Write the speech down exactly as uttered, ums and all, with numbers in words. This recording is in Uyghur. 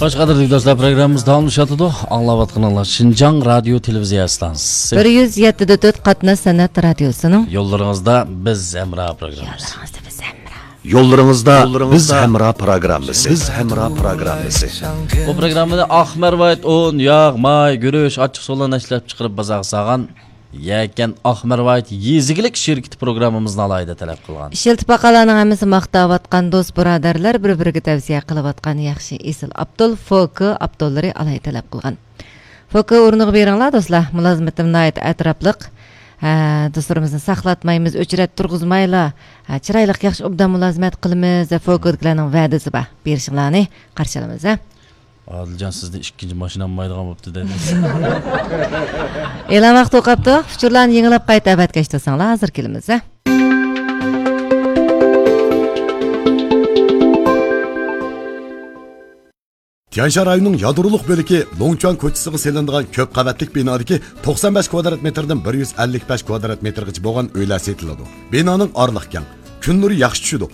خوش، قەدىرلىك دوستلار، پروگراممىمىز داۋاملىشىۋاتىدۇ. ئاڭلاۋاتقىنىڭلار شىنجاڭ رادىيو تېلېۋىزىيە ئىستانسىسى. بىر يۈز يەتتە دە تۆت قاتناش سەنئەت رادىيوسىنىڭ يوللىرىڭىزدا بىز ھەمراھ پروگراممىسى. يوللىرىڭىزدا بىز ھەمراھ پروگراممىسى. بىز ھەمراھ پروگراممىسى. بۇ پروگراممىنى ئاق مەرۋايىت ئۇن، ياغ، ماي، گۈرۈچ، ئاچچىق سۇلارنى ئىشلەپچىقىرىپ بازارغا سالغان يەكەن ئاق مەرۋايىت يېزا ئىگىلىك شىركىتى پروگراممىمىزنى ئالاھىدە تەلەپ قىلغان. ئىشلىتىپ باققانلارنىڭ ھەممىسى ماختاۋاتقان، دوست بۇرادەرلەر بىر-بىرىگە تەۋسىيە قىلىۋاتقان ياخشى ئېسىل ئاپتول، فوكى ئاپتوللىرى ئالاھىدە تەلەپ قىلغان. فوكى ئورنىغا بېرىڭلار دوستلار، مۇلازىمىتىم ناھايىتى ئەتراپلىق. ھە، دوستلىرىمىزنى ساقلاتمايمىز، ئۆچرەت تۇرغۇزمايلا، ھە، چىرايلىق ياخشى ئوبدان مۇلازىمەت قىلىمىز، ھە، فوكىدىكىلەرنىڭ ۋەدىسى بار، بېرىشىڭلارنى قارشى ئالىمىز، ھە. ئادىلجان، سىزدە ئىككىنچى ماشىنا ئالمايدىغان بوپتۇ دەيدۇ. ئېلان ۋاقتى ئوقاپتۇ. ئۇچۇرلارنى يېڭىلاپ قايتا ئەۋەتكەچ تۇرساڭلار، ھازىر كېلىمىز، ھە. تيەنشان رايونىنىڭ يادرولۇق بۆلىكى لوڭچۈەن كوچىسىغا سېلىنىدىغان كۆپ قەۋەتلىك بىنادىكى توقسان بەش كۋادرات مېتىردىن بىر يۈز ئەللىك بەش كۋادرات مېتىرغىچە بولغان ئۆيلەر سېتىلىدۇ. بىنانىڭ ئارىلىقى كەڭ، كۈن نۇرى ياخشى چۈشىدۇ.